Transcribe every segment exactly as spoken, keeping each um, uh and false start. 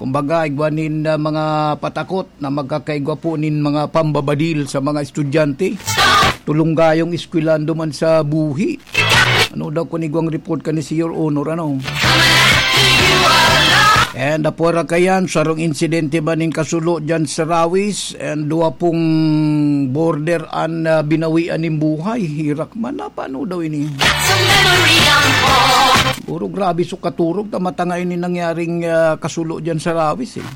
Kumbaga, igwa nin, ah, mga patakot na magkakaigwa po nin mga pambabadil sa mga estudyante. Tulong gayong eskwelando man sa buhi. Ano daw kun igwang report ka ni Señor Honor, ano? And apwera kayan, sarong insidente man nin kasulo dyan sa Rawis, and duwa pong border an, ah, binawian nin buhay. Hirak man, na paano daw ini? That's a memory I'm for. Puro grabe so katurog, ta matanga ini nangyaring, ah, kasulo dyan sa Rawis, eh.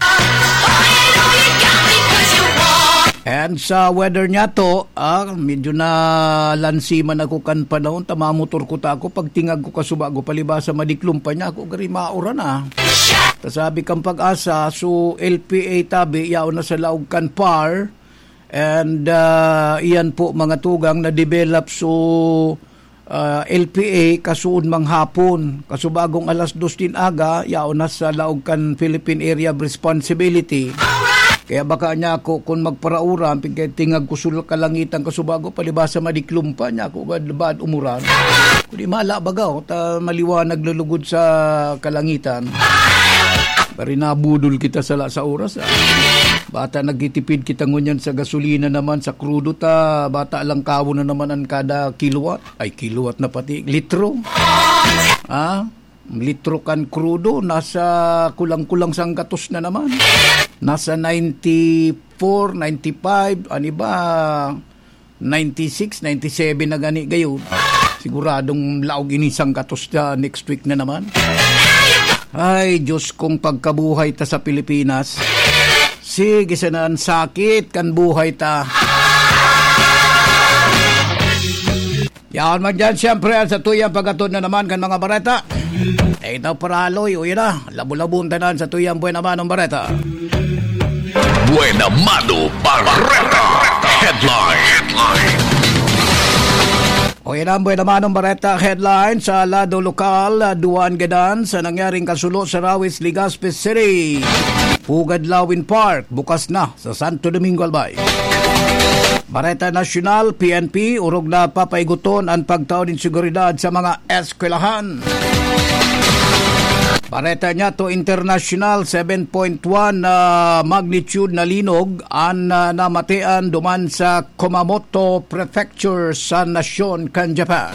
And sa weather niya to, ah, medyo nalansiman ako kan panahon, ta mamotor ko ta ako, pagtingag ko kasubago, palibasa madiklom pa niya ako, gari mauran, ah. Ta sabi kan Pag-asa, so L P A tabi, yaon na sa laog kan par, and, ah, iyan po, mga tugang, na-develop so ah, L P A kasuod manghapon. Kasubagong alas dos nin aga, yaon na sa laog kan Philippine Area of Responsibility. Kaya baka niya ako, kung magparauran, pigkatingag ko sul kalangitan kasubago, palibasa madiklom pa niya ako, gad baad umuran. Kundi mala baga, oh, ta maliwanag lulugod sa kalangitan. Bari nabudol kita sala sa oras, ah. Bata nagtitipid kita ngunyan sa gasolina naman, sa krudo ta, bata lang kawo na naman ang kada kilowatt. Ay, kilowatt na pati, litro. Ah, litro kan krudo, nasa kulang-kulang sanggatos na naman. Nasa ninety-four, ninety-five, ano ba, ninety-six, ninety-seven na gani gayon. Siguradong laog ini sanggatos na next week na naman. Ay, Diyos kong pagkabuhay ta sa Pilipinas. Sige, sana ang sakit kan buhay ta. Yaon man dyan, siyempre, ang satuyang pag-atod na naman kan mga bareta. Eh, ito, paraloy, o yun na. Labo-labon tanan sa tuyang buena manong bareta. Buena Mano Bareta Headline. O yun ang buena manong bareta headline sa lado lokal, duwan gadan sa nangyaring kasulo sa Rawis, Legazpi City. Pugad Lawin Park, bukas na sa Santo Domingo, Albay. Bareta Nasyonal, P N P, orog na papaigoton an pagtao nin seguridad sa mga eskwelahan. Bareta niya to international, seven point one na magnitude na linog an, ah, namatean duman sa Kumamoto Prefecture sa nasyon kan Japan.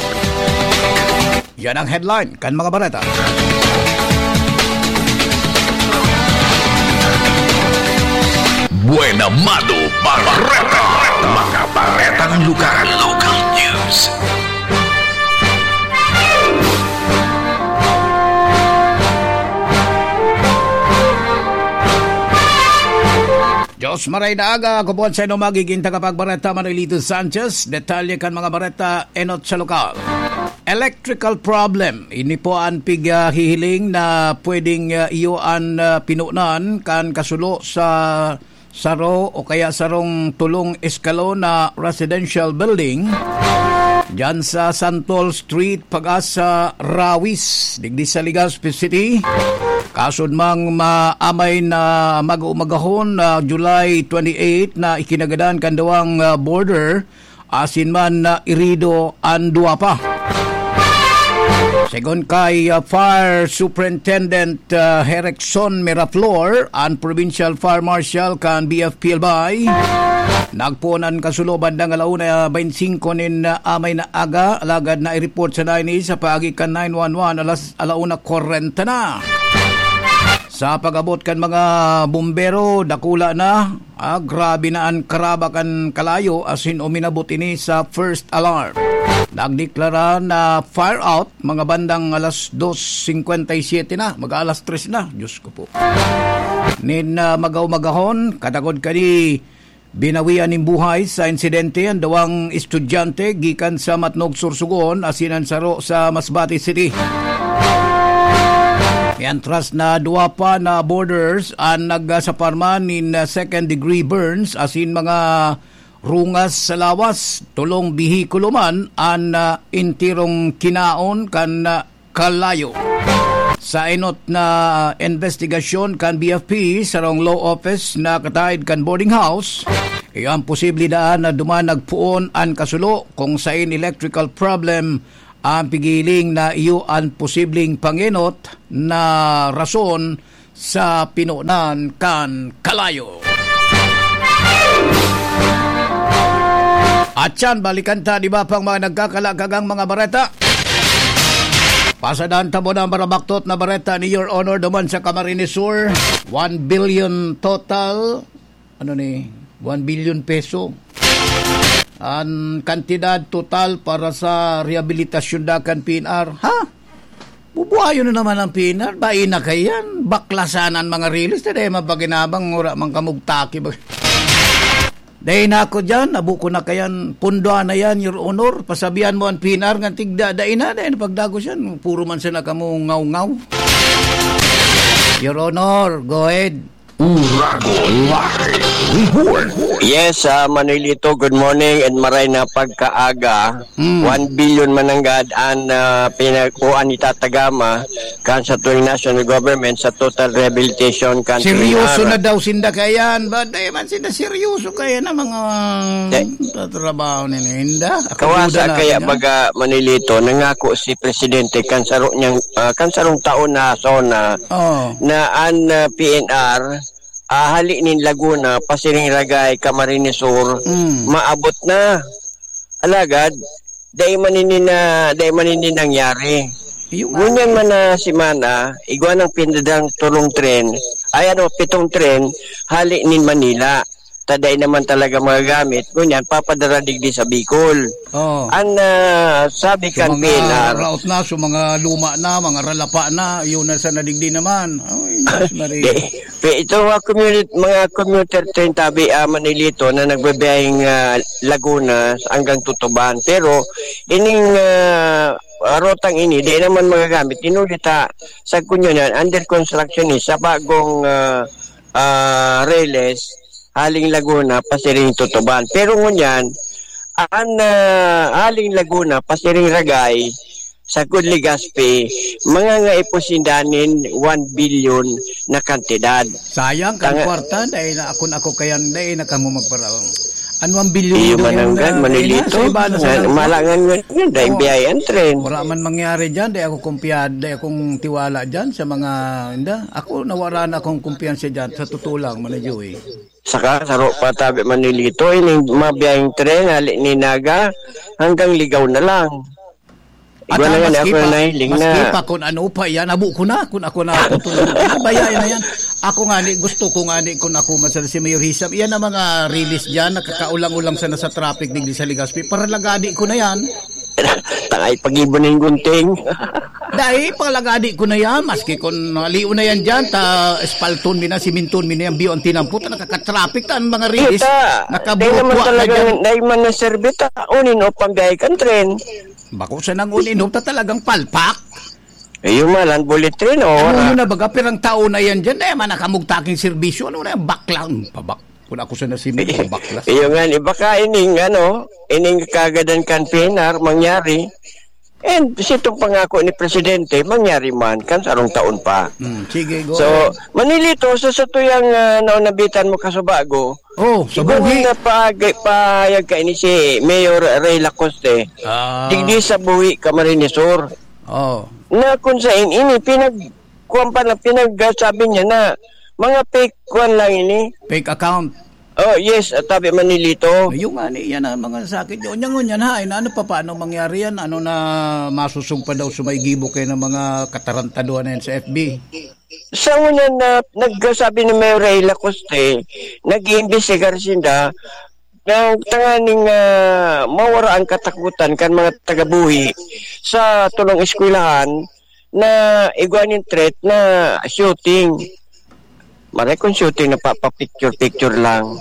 Yan ang headline kan mga bareta. Buena Mano Bareta. Mga baretang lugar. Local news. Diyos maray na aga, ako po sa inyo magiging tagapagbareta, Manolito Sanchez. Detalye kan mga bareta, enot sa lokal. Electrical problem. Ini po ang pighihiling na pwedeng, ah, iyo an, ah, pinunan kan kasulo sa saro o kaya sarong tolong eskalon na residential building diyan sa Santol Street, Pag-asa, Rawis, digdi sa Legazpi City. Kasod mang maamay na mag-umagahon na July twenty-eight na ikinagadan kan duwang, ah, border asin man na irido an duwa pa. Segun kay, ah, Fire Superintendent, ah, Herrickson Miraflor, an Provincial Fire Marshal kan B F P Albay, nagpoon an kasulo bandang alauna baynte singko nin, ah, amay na aga, alagad na i-report sana ini sa paagi kan nine one one alas alauna kwarenta na. Sa pag-abot kan mga bumbero, dakula na, ah, grabe na an karaba kan kalayo asin uminabot ini sa first alarm. Nagdeklara na fire out mga bandang alas dos singkwenta y siyete na, mag-aalas tres na. Diyos ko po. Nin, ah, magaw-magahon, katagod kani binawian nin buhay sa insidente an duwang estudyante gikan sa Matnog, Sorsogon, asin an saro sa Masbate City. Mientras na duwa pa na boarders an nagsaparman nin second degree burns asin mga rungas sa lawas, tolong behikulo man an, ah, enterong kinaon kan, ah, kalayo. Sa enot na investigasyon kan B F P, sarong law office na kataed kan boarding house, iyo ang posible daan na duman nagpoon an kasulo kung sain electrical problem ang pigiling na iyo an posibleng pangenot na rason sa pinonan kan kalayo. At yan, balikan ta, di ba, pang mga nagkakalakagang mga bareta? Pasadahan ta muna ang marabaktot na bareta ni Your Honor duman sa Camarines Sur. One billion total. Ano ni? One billion peso. Ang kantidad total para sa rehabilitasyon da kan P N R. Ha? Bubuhayon na naman ang P N R. Bain na kayan. Baklasan ang mga release. Dahil mapaginabang, wala mang kamugtaki. Dahil na ako dyan, abo ko na kayan. Pundoan na yan, Your Honor. Pasabihan mo ang P N R nga tigda, dahil na, dahil na pagdagos yan. Puro man sana kamo ngaw-ngaw. Your Honor, go ahead. Uragon Live Report. Yes, ah, Manilito, good morning and maray na pagkaaga. Mm. One billion mananggad ang, ah, pinag-, o ang itatagama kan sa tuwing national government sa total rehabilitation kan Seryoso P N R. Na daw sinda kayan. Ba, di man sinda seryoso kaya na mga Eh. tatrabaho nila. Hinda. Ako Kawasa duda na kaya ako dyan. Baga Manilito, nangako si Presidente kan saro niyang, ah, kan sarong taon na zona Oh. na an, ah, P N R, ah, hali nin Laguna, pasiring Ragay, Camarines Sur, Mm. maabot na. Alagad, dai man ini na, dai man ini nangyari. Iyo nga. Ngunyan man na semana, igwa nang pinadang tulong tren, ay ano, pitong tren, hali nin Manila. Ta dai naman talaga magagamit, ngunyan, papadara digdi sa Bicol. Oh. An, ah, sabi Sa kan mga P N R. Raot na, sa mga luma na, mga ralapa na, yun na sa nadigdi naman. Ay, Diyos Maria. Di, pe-, itong mga communi-, mga commuter train tabi, ah, Manilito na nagbabiyaheng, ah, Laguna hanggang Tutuban. Pero ining, ah, rotang ini, di naman magagamit. Inulit, ah, sa kunyo na, under construction ni sa bagong, ah, ah, Reles, haling Laguna, pasiring Tutuban. Pero ngunyan, an, ah, haling Laguna, pasiring Ragay, sa Legazpi, mga nga ipusinda nin one billion na kantidad. Sayang kan Tanga- kwarta, dahil na ako, ako kayan, dahil na kamo magparaon. Ano ang bilyon Iyo daw yan, mananggan, ah, Manilito. Sa iba na sa Nga, nangko. Malangan nga yun, dahil Oo. biyayaan tren. Wala man mangyari dyan, dahil ako kumpiya-, dahil akong tiwala dyan sa mga, inda. Ako, nawara na akong kumpiyansa dyan, sa totoo lang, Manay Joey. Saka, saro pa tabi Manilito, ining mabiyayang tren, hali ni Naga, hanggang Ligaw na lang. At Igwa na ang nga, maski ako pa, nahiling maski na. pa kung ano pa yan, abo ko na, kung ako na tutulog. Ano ba yan, yan? Ako nga ni, gusto ko nga ni, kung ako man sana si Mayor Hisam, yan ang mga release dyan, nakakaulang-ulang sana sa traffic digdi sa Legazpi. Paralagadi ko na yan. Tangay pag-ibo na yung gunting. Dahil paralagadi ko na yan, maski kung naliw na yan dyan, ta espalton mi na, siminton mi na yan, biyo ang tinampot, nakaka-traffic ta ang mga release, Kita, nakabuo dahil naman na talagang, dyan. Dahil man na servita, unin o pambiyahe kan tren. Bako sa nang uninop ta talagang palpak. Eh, yung malan, bullet train, oh, Ano wala. yun na baga, pirang taon na yan dyan, eh, manakamugtaking serbisyo, ano na yan, baklang, pabak. Kung ako sa nasimi, pabaklas. Iyo nga, iba ka ining, ano, ining kagadan kan P N R, mangyari. And sitong pangako ni Presidente, mangyari man, kan sarong taon pa. Hmm, sige, go So, ahead. Manilito, sa satuyang, ah, naonabitan mo kasubago, Oh, sa Igwa buhi. na pahag-, pahayag ka ini si Mayor Ray Lacoste. Ah. Digdi sa buhi, Camarines Sur. Oh. Na kung sa in-, ini, pinag-, kuwan pa na, pinag-, sabi niya na, mga fake kuwan lang ini. Fake account. Oh, yes, at tabi Manilito. Yung nga ni, yan ang mga sakit. Yun, yan, yun, yan, ha? Ay, na, ano pa, paano mangyari yan? Ano na masusog pa daw sa may gibo kayo ng mga katarantaduhan na yan sa F B? Sa una na nagsabi ni Mayor Ray Lacoste, nag-iimbestigar sinda na tanganing, ah, mawara ang katakutan kan mga taga-buhi sa tulong eskwelahan na igwa nin threat na shooting. Maray kung shooting na pa, pa-picture-picture lang.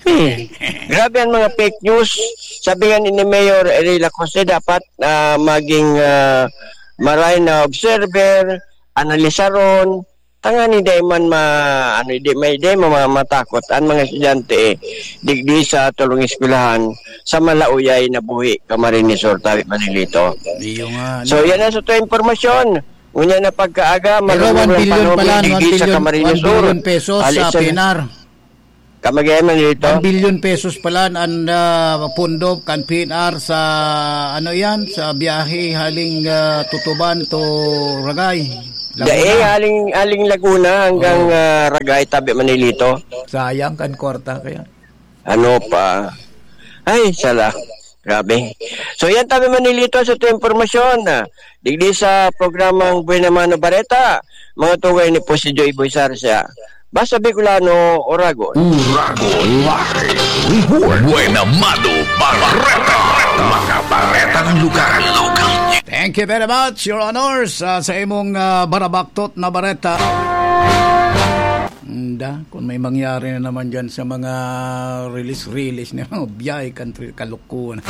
Hmm. Grabe ang mga fake news. Sabi nga ni Mayor Ray Lacoste, dapat, ah, maging, ah, maray na observer, analisaron, tanganing dai man ma-, ano, di may, dai ma-, ma-, matakot ang mga estudyante, eh, digdi sa tulong eskwelahan, sa malauyay na buhi, Camarines Sur, tabi Manilito. Iyo nga, So, ano? yan ang sa tuwing impormasyon. Ngunyan na pagkaaga, Pero malulong one ang billion panahon pala, digdi one sa billion, Camarines one billion Sur. pesos Ali sa sa Pinar. Kamagay man dito. One billion pesos pala an, ah, pondo kan P N R sa, ano yan, sa biyahe haling, ah, Tutuban to Ragay, Laguna. Dai, haling, haling Laguna hanggang, Oo. ah, Ragay, tabi Manilito. Sayang kan kwarta kaya. Ano pa? Ay, sala. Grabe. So, yan tabi Manilito sa itong impormasyon, ah. Digdi sa programang Buena Mano Bareta, mga tugay ni po si Joy Boy Sarsia. Basta Bicolano, Oragon. Oragon Live Report. Buena Mano Bareta. Mga baretang lokal. Thank you very much, Your Honors, ah, sa imong, ah, barabaktot na bareta. Nda, kung may mangyari na naman dyan sa mga release-release na mga biyahe, country, kalukuhan.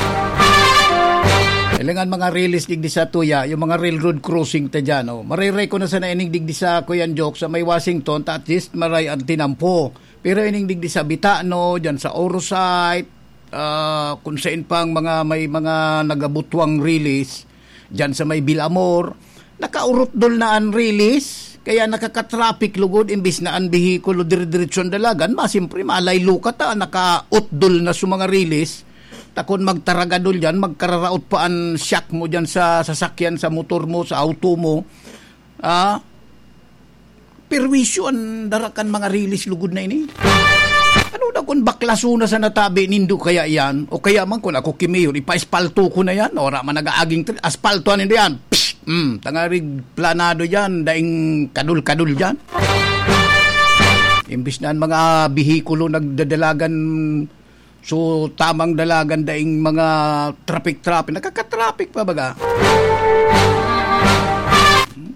Ilangan mga release digdi sa tuya, yung mga railroad crossing ta dyan, oh. Mariray ko na sana ining digdi sa Kuyan Joke sa may Washington, ta at least maray ang tinampo. Pero ining digdi sa Bitano, dyan sa Orosite, ah, kung saan pang mga, may mga nagabutwang release, dyan sa may Bilamor, nakaurutdol na an release, kaya nakakatraffic lugod imbis na an behikulo dire-diretso an dalagan, ma, siyempre, malaylo ka ta, nakautdol na sa mga release. Takon magtaragadol dyan, magkararaot pa an shock mo dyan sa sasakyan, sa motor mo, sa auto mo. Ah, perwisyo an dara kan mga release lugod na ini. Ano daw kung baklaso na sa natabi nindo kaya yan? O kaya man kung ako ki Mayor, ipa-espalto ko na yan. Ora man nag-aaging tri-, aspaltoan nindo yan. Psst! Mm, tangarig planado yan, daing kadul-kadul yan. Imbis na ang mga bihikulo nagdadalagan, so, tamang dalagan daing mga traffic-traffic. Nakakatraffic pa baga.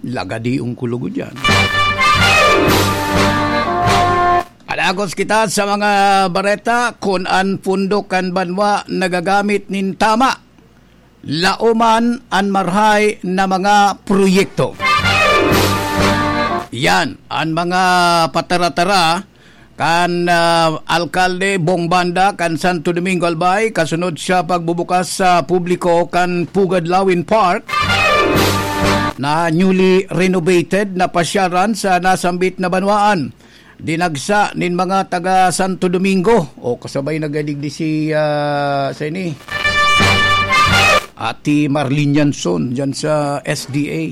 Lagadiong kulugo dyan. Palagos kita sa mga bareta kun an pondo kan banwa nagagamit nin tama. Laoman an marhay na mga proyekto. Yan an mga patara-tara kan, ah, alkalde Bong Banda kan Santo Domingo Albay, kasunod sa pagbubukas sa publiko kan Pugad Lawin Park na newly renovated na pasyaran sa nasambit na banwaan. Dinagsa nin mga taga Santo Domingo, o kasabay nagadigdi si, ah, sa ini, Ate Marlene Yanson, dyan sa S D A.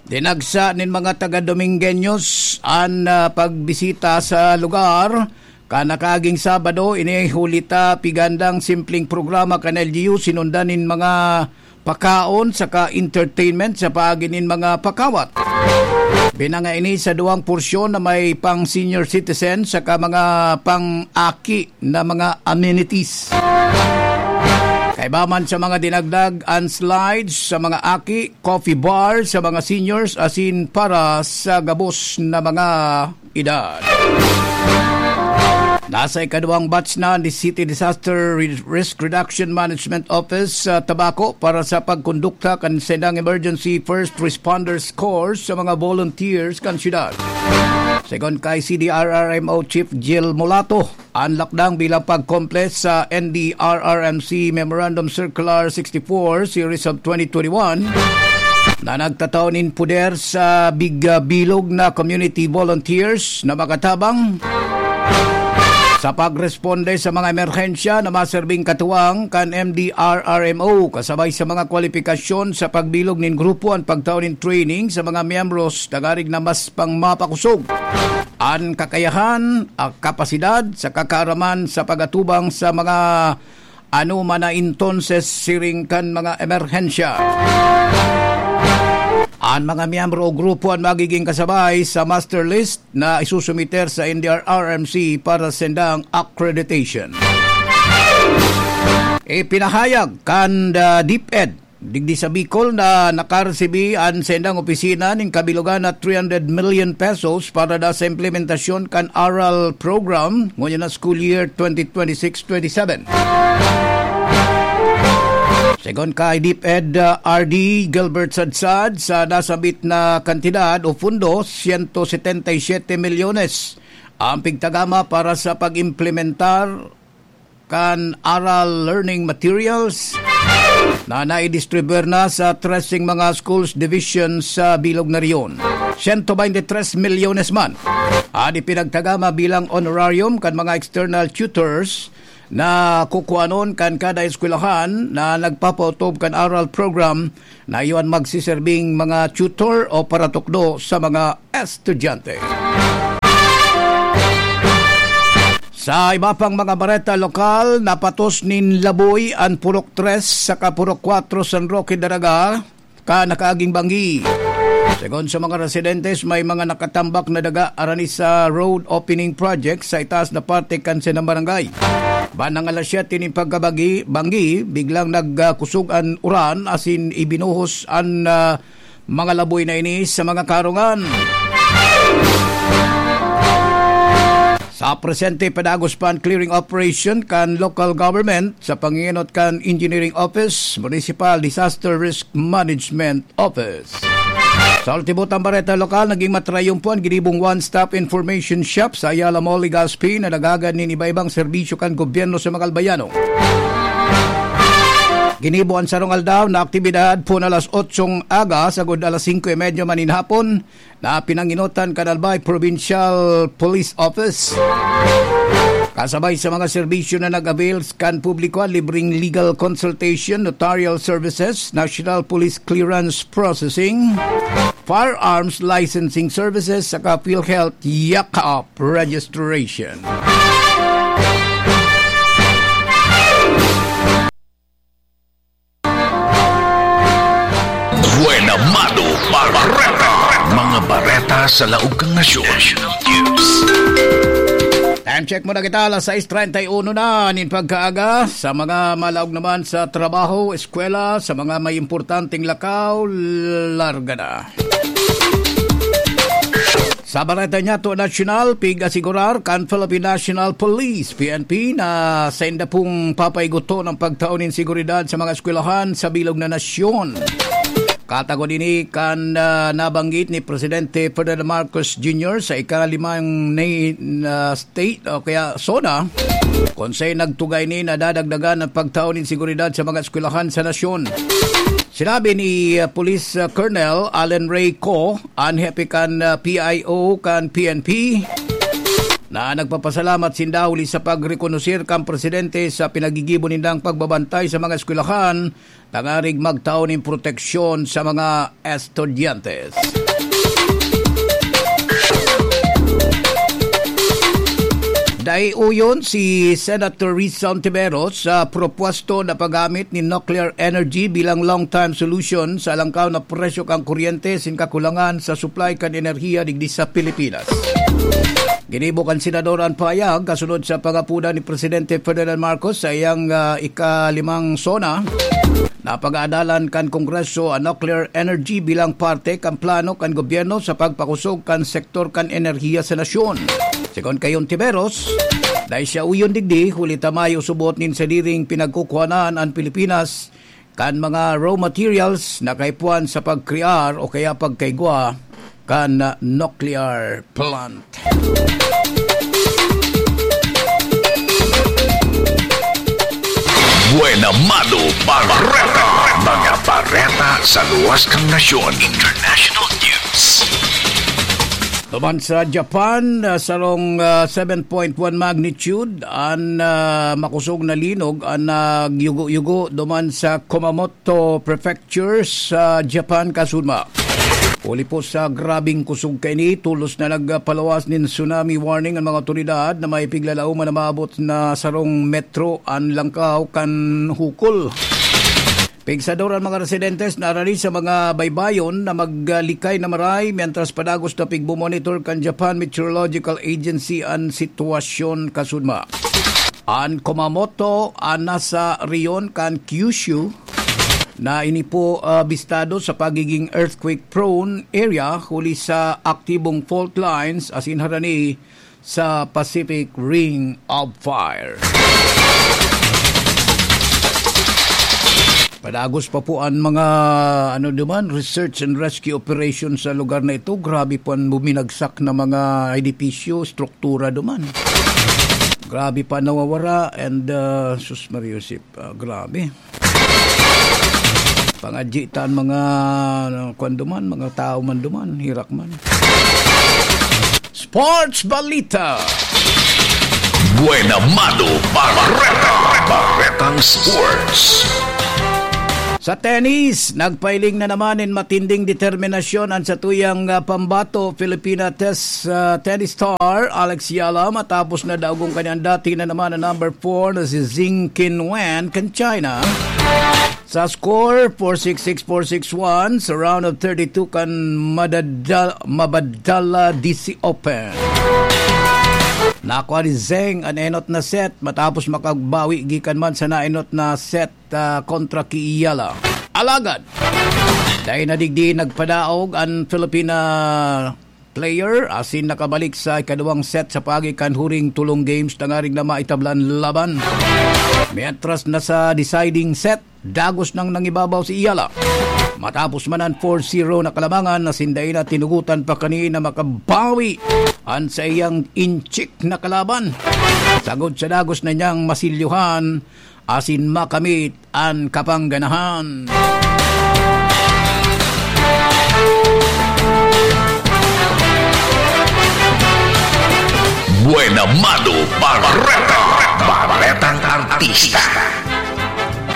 Dinagsa nin mga taga Domingueños an, ah, pagbisita sa lugar. Kan nakaaging Sabado, ini huli ta pigandang simpleng programa kan L G U, sinundan nin mga pakaon saka entertainment sa paagi nin mga pakawat. Binanga ini sa duwang porsyon na may pang senior citizen saka mga pang-aki na mga amenities. Kaiba man sa mga dinagdag, an slides sa mga aki, coffee bar sa mga seniors, asin para sa gabos na mga edad. Nasa ikaduwang batch na ni City Disaster Re-, Risk Reduction Management Office sa Tabaco para sa pagkondukta kan saindang Emergency First Responders Course sa mga volunteers kan syudad. Segun kay C D R R M O Chief Jill Mulato, an lakdang bilang pag-comply sa N D R R M C Memorandum Circular sixty-four Series of twenty twenty-one na nagtatao nin poder sa big-, ah, bilog na community volunteers na makatabang sa pagresponde sa mga emerhensya na maserbing katuwang kan M D R R M O, kasabay sa mga kwalipikasyon sa pagbilog nin grupo an pagtao nin training sa mga miyembros tangarig na mas pang mapakosog an kakayahan, ah, kapasidad sa kakaaraman sa pag-atubang sa mga anoman na entonces siring kan mga emerhensya. An mga miyembro o grupo an magiging kasabay sa master list na isusumiter sa N D R R M C para sa saindang accreditation. Ipinahayag kan, ah, DepEd digdi sa Bicol na nakaresibi an saindang opisina nin kabilogan na three hundred million pesos para da sa implementasyon kan ARAL program ngunyan na school year twenty twenty-six twenty-seven. Segun kay DepEd, uh, R D Gilbert Sadsad, sa nasabit na kantidad o pondo, siyento setenta y siyete milyones ang pigtagama para sa pag-implementar kan ARAL learning materials na naidistribuir na sa treseng mga schools division sa bilog na rehiyon. siyento baynte tres milyones man an ipinagtagama bilang honorarium kan mga external tutors na kukuanon kan kada eskwelahan na nagpapautob kan aral program na iyon magsiserbing mga tutor o paratukdo sa mga estudyante. Sa iba pang mga bareta lokal, napatos nin laboy an Purok tres saka Purok kwatro San Roque Daraga kan nakaaging banggi. Segun sa mga residentes, may mga nakatambak na daga arani sa road opening project sa itaas na parte kan Senang Barangay. Bandang alas siyete nin pagkabanggi, banggi, biglang nagkusog an uran asin ibinuhos an, ah, mga laboy na ini sa mga karungan. Sa presente, padagos pa an clearing operation kan local government sa pangingenot kan Engineering Office, Municipal Disaster Risk Management Office. Sa ultimo tang bareta lokal, naging matrayumpo an ginibong one-stop information shop sa Ayala Mall, Legazpi, na naghagad nin iba-ibang serbisyo kan gobyerno sa mga Albayano. Ginibo an sarong aldaw na aktibidad pon alas otsong aga sagod alas singko y medya manin hapon na pinangenotan kan Albay Provincial Police Office. Kasabay sa mga serbisyo na nag-avail kan publiko, libreng legal consultation, notarial services, National Police Clearance Processing, firearms licensing services, saka PhilHealth Yakap registration. Buena Mano Bareta. Mga bareta sa laog kan nasyon. National News. Time check muna kita, alas sais treinta y uno na nin pagkaaga. Sa mga malaog naman sa trabaho, eskwela, sa mga may importanteng lakaw, larga na. Sa bareta niyato nasyonal, pig-asigurar kan Philippine National Police, P N P, na sainda pong papaigoton ang pagtao nin seguridad sa mga eskwelahan sa bilog na nasyon. Katagod ini kan, ah, nabanggit ni Presidente Ferdinand Marcos Junior sa ikalimang ni, na state o kaya SONA, kung saan nagtugay ni nadadagdagan ang pagtao nin seguridad sa mga eskwelahan sa nasyon. Sinabi ni, ah, Police, ah, Colonel Allen Ray Co, an hepe kan, ah, P I O kan P N P, na nagpapasalamat sinda huli sa pagrekonosir kan presidente sa pinagigibo nindang pagbabantay sa mga eskwelahan tangarig magtao nin proteksyon sa mga estudyante. Dai uyon si Senator Risa Ontiveros sa propwesto na paggamit nin nuclear energy bilang long-term solution sa alangkaw na presyo kan kuryente asin kakulangan sa supply kan enerhiya digdi sa Pilipinas. Ginibo kan senador an pahayag kasunod sa pangapodan ni Presidente Ferdinand Marcos sa iyang, ah, ikalimang SONA na pag-aadalan kan Kongreso an nuclear energy bilang parte kan plano kan gobyerno sa pagpakusog kan sektor kan enerhiya sa nasyon. Segun kay Ontiveros, dai siya uyon digdi, huli ta mayo subot nin sadiring pinagkukuhanan an Pilipinas kan mga raw materials na kaipuhan sa pagkrear o kaya pagkaigwa kan nuclear plant. Buena Mano Bareta. Mga bareta sa luwas kan nasyon. International News. Duman sa Japan, ah, sarong, ah, seven point one magnitude an, ah, makosog na linog an nagyugo-yugo duman sa Kumamoto Prefecture sa Japan, kasudma. Huli po sa grabeng kosog kaini, tolos na nagpaluwas nin tsunami warning an mga otoridad na may piglalaoman na maabot na sarong metro an langkaw kan hukol. Pigsador an mga residentes na arani sa mga baybayon na maglikay na maray, mientras padagos na pigmomonitor kan Japan Meteorological Agency an sitwasyon, kasudma. An Kumamoto, an nasa rehiyon kan Kyushu, na ini po, ah, bistado sa pagiging earthquake-prone area huli sa aktibong fault lines asin harani sa Pacific Ring of Fire. Padagos pa po an mga, ano duman, research and rescue operation sa lugar na ito. Grabe po an buminagsak na mga edipisyo, struktura duman. Grabe pa nawawara and, ah, sus Maria Josep, ah, grabe. Pangadyi ta an mga, ano, kwan duman, mga tao man duman, herak man. Sports Balita. Buena Mano Bareta. Baretang Sports. Sa tennis, nagpailing na naman nin matinding determinasyon an satuyang, ah, pambato, Filipina tes-, ah, tennis star Alex Yala, matapos na daog an kanyang dati na naman na number four na si Zheng Qinwen kan China. Sa score, four six six, four six one, sa round of thirty-two kan madadal-, Mabadala D C Open. Nakuha ni Zheng an enot na set matapos makabawi gikan man sa naenot na set, ah, kontra ki Yala. Alagad, dai na digdi nagpadaog an Filipina player asin nakabalik sa ikaduwang set sa paagi kan huring tolong games tanganing na maitablan laban. Mientras na sa deciding set, dagos nang nangibabaw si Yala. Matapos man an four zero na kalamangan, asin dai na tinugotan pa kani na makabawi an saiyang inchik na kalaban. Sagod sa dagos na niyang masilyuhan, asin makamit an kapangganahan. Buena Mano Bareta, Baretang Artista.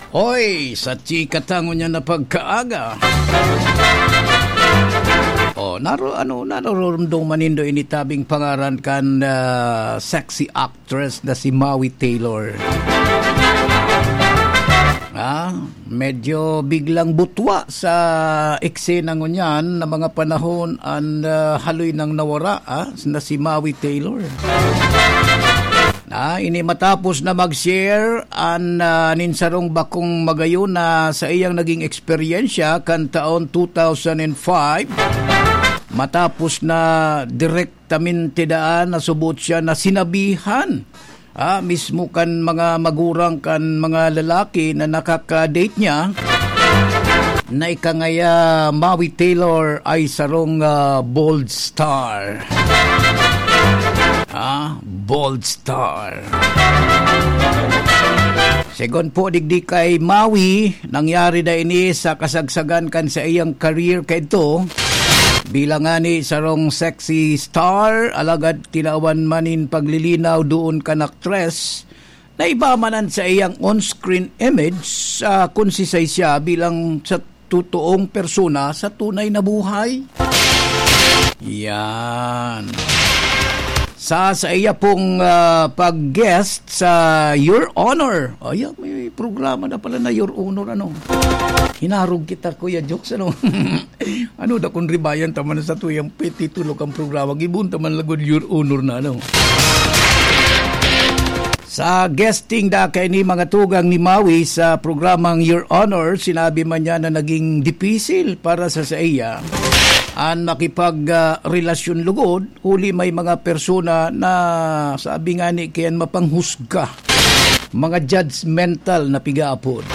Hoy, sa chika ta ngunyan na pagkaaga. Oh, naro-, ano, naroromdom man nindo ini tabing pangaran kan, ah, sexy actress na si Maui Taylor. Ah, medyo biglang butwa sa eksena ngunyan na mga panahon an, ah, haloy nang nawara, ah, na si Maui Taylor. Ah, ini matapos na mag-share an, ah, nin sarong bakong magayon na sa iyang naging eksperyensya kan taon two thousand and five. Matapos na direk tamente daan na subot siya na sinabihan, ah, mismo kan mga magurang kan mga lalaki na nakaka-date niya, na ika ngaya Maui Taylor ay sarong, ah, bold star. Ah, bold star. Segun po digdi kay Maui, nangyari na ini sa kasagsagan kan sa iyang career kaidto. Bilang ngani sarong sexy star, alagad tinawan man nin paglilinaw doon kan aktres na iba man an saiyang on-screen image, ah, kun sisay siya bilang sa totoong persona sa tunay na buhay. Yan. Sa, sa iya pong, ah, pag-guest sa Your Honor. Ayan, may programa na pala na Your Honor, ano? Hinarog kita, Kuya Jokes, ano? Ano, dakong ribayan ta man sa tuyang titulo kan programa. Gibohon ta man lagod Your Honor na, ano? Sa guesting da kaini, mga tugang ni Maui, sa programang Your Honor, sinabi man niya na naging dipisil para sa saiya an makipag, ah, relasyon lugod, huli may mga persona na, sabi ngani, kayan mapanghusga, mga judgmental na pigaapod,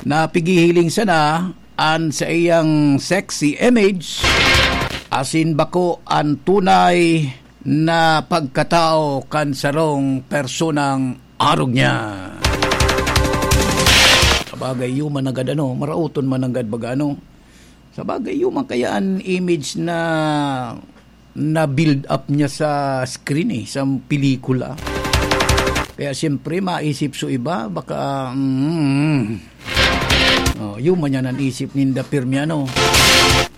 na pigihiling sana an saiyang sexy image, asin bako an tunay na pagkatao kan sarong personang arog niya. Sabagay, human nanggad, ano, maraoton man nanggad baga, ano. Sabagay, human kaya an image na na-build up niya sa screen, eh, sa pelikula. Kaya siyempre, maisip so iba, baka, mm, oh, human yan an isip ninda, pirmi, ano.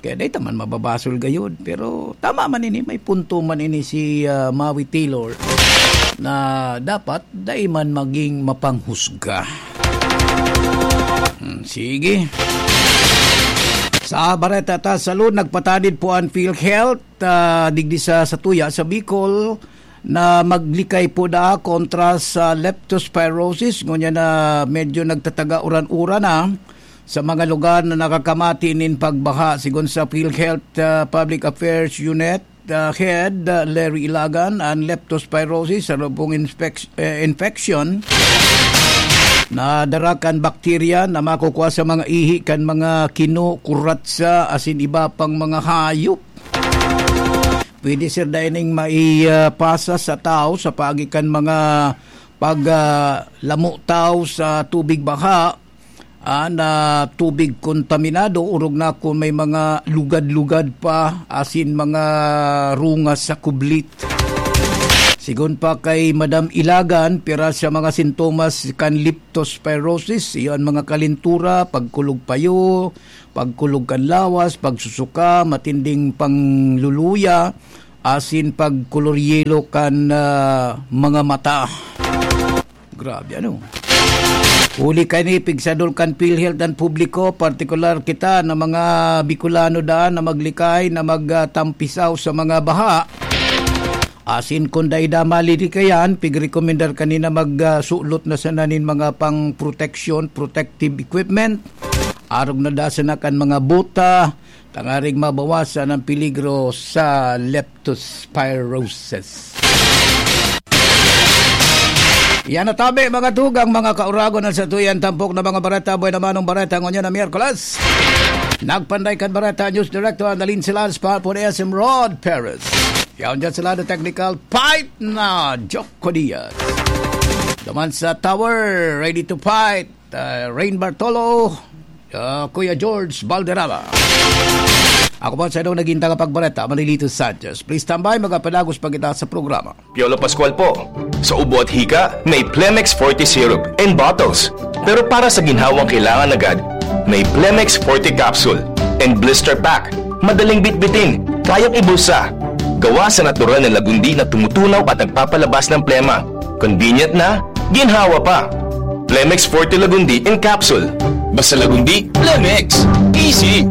Kaya dai ta man mababasol gayod. Pero tama man ini, may punto man ini si, ah, Maui Taylor na dapat dai man maging mapanghusga. Hmm, sige. Sa bareta ta sa lun, nagpatanid po an PhilHealth, ah, digdi sa, sa tuya, sa Bicol, na maglikay po daa kontra sa leptospirosis. Ngunyan na medyo nagtataga uran-uran na sa mga lugar na nakakamati nin pagbaha. Sigon sa PhilHealth, ah, Public Affairs Unit, ah, Head, ah, Larry Ilagan, an leptospirosis, sarong pong inspec-, eh, infection na dara kan bakterya na makukua sa mga ihi kan mga kino, kuratsa, asin iba pang mga hayop. Pwede, sir, da ining mai-, ah, pasa sa tao sa paagi kan mga pag, ah, lamo tao sa tubig baha, Ah, na tubig kontaminado, orog na kun may mga lugad-lugad pa, asin mga rungas sa kublit. Sigon pa kay Madam Ilagan, pira sa mga sintomas kan leptospirosis, iyo an mga kalintura, pagkulog payo, pagkulog kan lawas, pagsusuka, matinding pangluluya, asin pagkulor yelo kan, ah, mga mata. Grabe, ano? Huli kaini, pigsadol kan PhilHealth an publiko, partikular kita na mga Bicolano daan na maglikay na magtampisaw sa mga baha. Asin kun dai da malilikayan, pigrekomendar kanina magsulot na sana nin mga pang-protection, protective equipment. Arog na da sana kan mga bota, tangaring mabawasan ang peligro sa leptospirosis. Yan na tabi, mga tugang, mga kauragon, an satuyan tampok na mga bareta, buhay na manong bareta, ngunyan na Miyerkules. Nagpanday kan bareta, News Director Annalyn Silas, Papa S M Rod Perez. Yaon dyan sa lado technical, Pipe na Joko Diaz. Duman sa tower, ready to fight, uh, Rain Bartolo, uh, Kuya George Valderrama. Ako po sa inong naging tagapagbareta, Manilito Sanchez. Please stand by, magpapadagos pa kita sa programa. Piolo Pascual po. Sa ubo at hika, may Plemex Forte Syrup in bottles. Pero para sa ginhawang kailangan agad, may Plemex Forte Capsule and Blister Pack. Madaling bitbitin, kayang ibulsa. Gawa sa natural na lagundi na tumutunaw at nagpapalabas ng plema. Convenient na, ginhawa pa. Plemex Forte Lagundi in Capsule. Basta Lagundi, Plemex. Easy!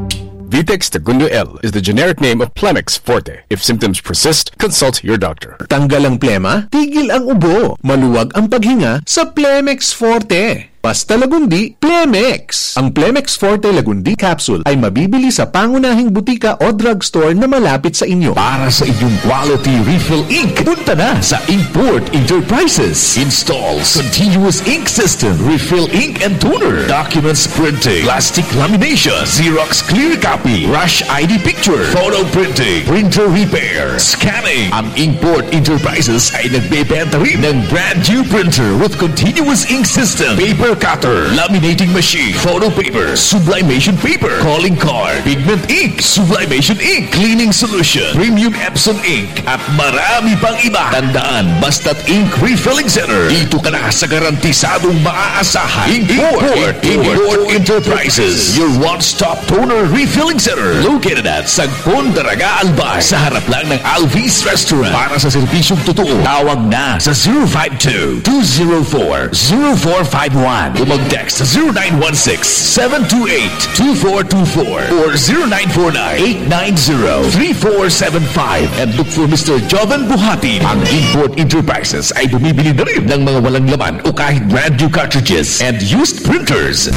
Vitex Tagundo L is the generic name of Plemex Forte. If symptoms persist, consult your doctor. Tanggal ang plema, tigil ang ubo. Maluwag ang paghinga sa Plemex Forte. Basta Lagundi, Plemex. Ang Plemex Forte Lagundi Capsule ay mabibili sa pangunahing butika o drugstore na malapit sa inyo. Para sa inyong quality refill ink, punta na sa Import Enterprises. Installs continuous ink system, refill ink and toner, documents printing, plastic lamination, Xerox clear copy, rush I D picture, photo printing, printer repair, scanning. Ang Import Enterprises ay nagbebenta rin ng brand new printer with continuous ink system, paper cutter, laminating machine, photo paper, sublimation paper, calling card, pigment ink, sublimation ink, cleaning solution, premium Epson ink, at marami pang iba. Tandaan, basta't ink refilling center, dito ka na sa garantisadong maaasahan. Import, Import, Import Enterprises, your one-stop toner refilling center, located at Sagpon, Daraga, Albay, sa harap lang ng Alvis Restaurant. Para sa serbisyong totoo, tawag na sa zero five two, two zero four, zero four five one o mag-text sa zero nine one six, seven two eight, two four two four or zero nine four nine, eight nine zero, three four seven five and look for Mister Joven Buhatin. Ang Import Enterprises ay bumibili na rin ng mga walang laman o kahit brand new cartridges and used printers.